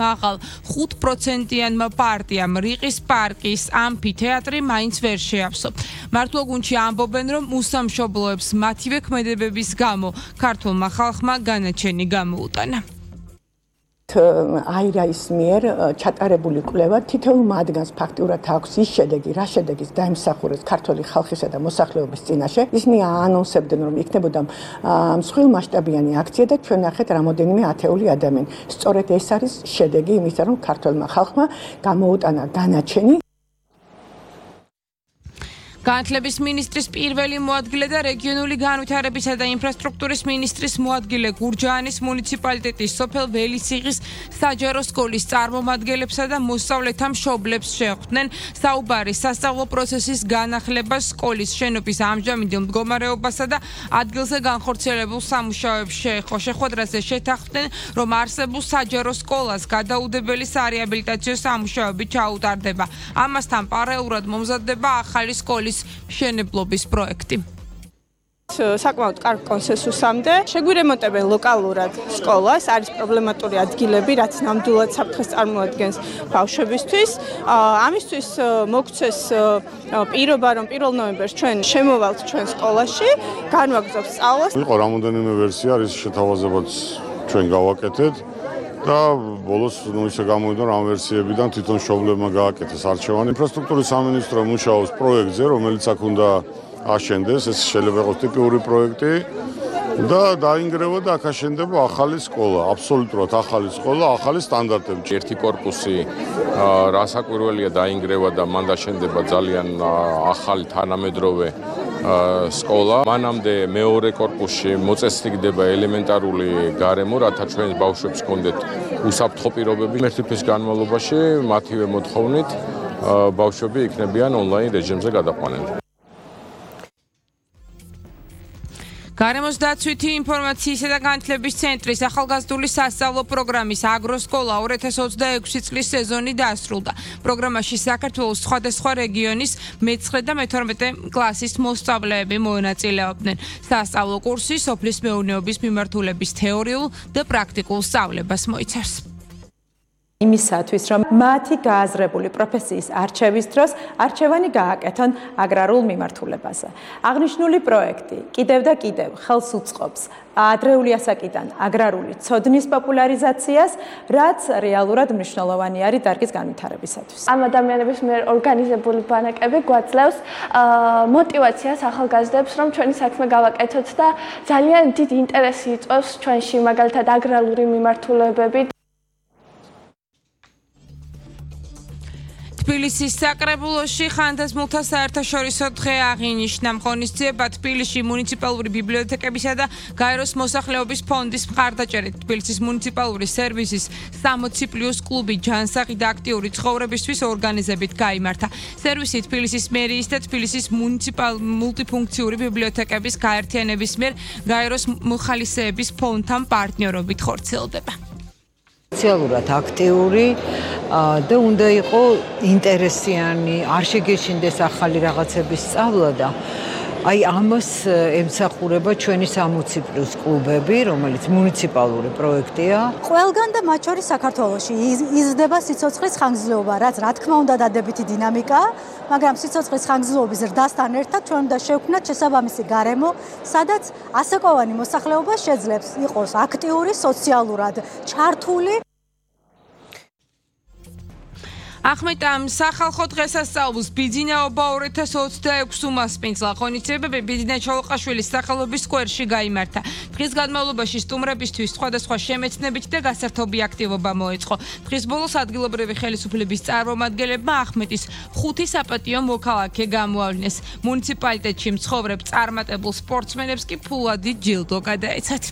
მაღალ 5%-იანმა პარტიამ რიყის პარკის ამფითეატრი მაინც ვერ შეავსო. მართლოგუნდში ამბობენ, რომ უსამშობლოებს მათივე ქმედებების გამო ქართულმა ხალხმა განაჩენი გამოუტანა. აირაის მიერ ჩატარებული კვლევა თითოეულ მათგანს ფაქტიურად აქვს ის შედეგი, რა შედეგის დაიმსახურეს ქართული ხალხისა და მოსახლეობის წინაშე. ისინი აანონსებდნენ, რომ იქნებოდა მსხვილმასშტაბიანი აქცია და ჩვენ ნახეთ რამოდენიმე ათეული ადამიანი. სწორედ ეს არის შედეგი იმისა, რომ ქართულმა ხალხმა გამოუტანა განაჩენი. განათლების მინისტრის პირველი მოადგილე და რეგიონული განვითარებისა და ინფრასტრუქტურის მინისტრის მოადგილე გურჯაანის მუნიციპალიტეტის სოფელ ველისიღის საჯარო სკოლის წარმომადგენლებსა და მოსწავლეთა მშობლებს შეხვდნენ საუბარი სასწავლო პროცესის განახლებას, სკოლის შენობის ამჟამინდელ მდგომარეობასა და ადგილზე განხორციელებულ სამუშაოებს შეეხო. შეხვედრაზე შეთანხმდნენ, რომ არსებულ საჯარო სკოლას გადაუდებელი სარეაბილიტაციო სამუშაოები ჩაუტარდება. ამასთან პარალელურად მომზადდება ახალი სკოლის მშენებლობის პროექტი. საკმაოდ კარგ კონსენსუსამდე შეგვირემონტებენ ლოკალურად სკოლას, არის პრობლემატური ადგილები, რაც ნამდვილად საფრთხეს წარმოადგენს ბავშვებისთვის. ამისთვის მოგცეს პირობა, რომ 1 ნოემბერს ჩვენ შემოვალთ ჩვენ სკოლაში, განვაგრძობთ სწავლას. იყო რამოდენიმე ვერსია, რის შეთავაზებაც ჩვენ გავაკეთეთ და ბოლოს ისე გამოვიდა, რომ ამ ვერსიებიდან თვითონ მშობლებმა გააკეთეს არჩევანი. ინფრასტრუქტურის სამინისტრო მუშაობს პროექტზე, რომელიც აქ უნდა აშენდეს, ეს შეიძლება იყოს ტიპიური პროექტი და დაინგრევა და აქ აშენდება ახალი სკოლა, აბსოლუტურად ახალი სკოლა, ახალი სტანდარტები. ერთი კორპუსი რასაკვირველია დაინგრევა და მან დაშენდება ძალიან ახალი თანამედროვე სკოლა. მანამდე მეორე კორპუსში მოწესრიგდება ელემენტარული გარემო, რათა ჩვენს ბავშვებს ჰქონდეთ უსაფრთხო პირობები. ერთი თვის განმავლობაში მათივე მოთხოვნით ბავშვები იქნებიან ონლაინ რეჟიმზე გადაყვანილი. გარემოს დაცვითი ინფორმაციისა და განათლების ცენტრის ახალგაზრდული სასწავლო პროგრამის აგროსკოლა 2026 წლის სეზონი დასრულდა. პროგრამაში საქართველოს სხვადასხვა რეგიონის მე-9 და მე-12 კლასის მოსწავლეები მონაწილეობდნენ. სასწავლო კურსი სოფლის მეურნეობის მიმართულების თეორიულ და პრაქტიკულ სწავლებას მოიცავს. იმისათვის, რომ მათი გააზრებული პროფესიის არჩევის დროს არჩევანი გააკეთონ აგრარულ მიმართულებაზე. აღნიშნული პროექტი კიდევ და კიდევ ხელს უწყობს ადრეული ასაკიდან აგრარული ცოდნის პოპულარიზაციას, რაც რეალურად მნიშვნელოვანი არის დარგის განვითარებისათვის. ამ ადამიანების მიერ ორგანიზებული ბანაკები გვაძლევს мотивაციას ახალგაზრდებს, რომ ჩვენი საქმე გავაკეთოთ და ძალიან დიდი ინტერესი იწვევს ჩვენში, მაგალითად აგრარული მიმართულებები. თბილისის საკრებულოში ხანდაზმულთა საერთაშორისო დღე აღინიშნა. ღონისძიება თბილისში მუნიციპალური ბიბლიოთეკებისა და გაეროს მოსახლეობის ფონდის მხარდაჭერით თბილისის მუნიციპალური სერვისის 60+ კლუბი ჯანსაღი და აქტიური ცხოვრებისთვის ორგანიზებით გაიმართა. სერვისი თბილისის მერიის და თბილისის მულტიფუნქციური ბიბლიოთეკების გაერთიანების მიერ გაეროს მოხალისეების ფონდთან პარტნიორობით ხორციელდება. სოციალურად აქტიური და უნდა იყო ინტერესიანი, არ შეგეშინდეს ახალი რაღაცების სწავლა და აი ამას ემსახურება ჩვენი 60+ კლუბები, რომელიც მუნიციპალური პროექტია. ყველგან და მათ შორის საქართველოში იზრდება სიცოცხლის ხანგრძლივობა, რაც რა თქმა უნდა დადებითი დინამიკაა, მაგრამ სიცოცხლის ხანგრძლივობის ზრდასთან ერთად ჩვენ უნდა შევქმნათ შესაბამისი გარემო, სადაც ასაკოვანი მოსახლეობა შეძლებს იყოს აქტიური, სოციალურად ჩართული. ახმეტამ სახალხო დღესასწაულს ბიძინაობა 2026 უმასპინძლა. ღონისძიებები ბიძინა ჩოლოყაშვილის სახელობის სკვერში გაიმართა. დღის განმავლობაში სტუმრებისთვის სხვადასხვა შემეცნებით და გასართობი აქტივობა მოეწყო. დღის ბოლოს ადგილობრივი ხელისუფლების წარმომადგენლებმა ახმეტის 5 საპატიო მოქალაქე გამოავლინეს. მუნიციპალიტეტში მცხოვრებ წარმატებულ სპორტსმენებს კი ფულადი ჯილდო გადაეცათ.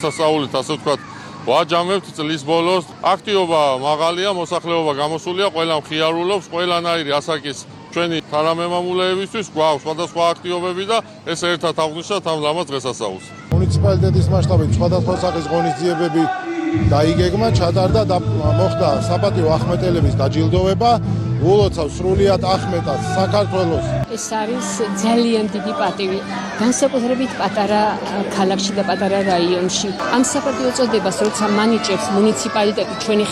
სასწაულით ასე ვთქვათ ვაჯამებთ წლის ბოლოს. აქტივობა მაღალია, მოსახლეობა გამოსულია, ყველა მხიარულობს, ყველანაირი ასაკის ჩვენი თანამემამულეებისთვის გვაქვს სხვადასხვა აქტივობები და ეს ერთად აღვნიშნავთ ამ ლამაზ დღესასწაულს. მუნიციპალიტეტის მასშტაბით სხვადასხვა სახის ღონისძიებები დაიგეგმა, ჩატარდა და მოხდა საპატიო ახმეტელების დაჯილდოვება. ულოცავს სრულიად ახმეტად საქართველოს. ეს არის ძალიან დიდი პატივი, განსაკუთრებით პატარა ქალაქში და პატარა რაიონში. ამ საპატიო წოდებას როცა მანიჭებს მუნიციპალიტეტი ჩვენი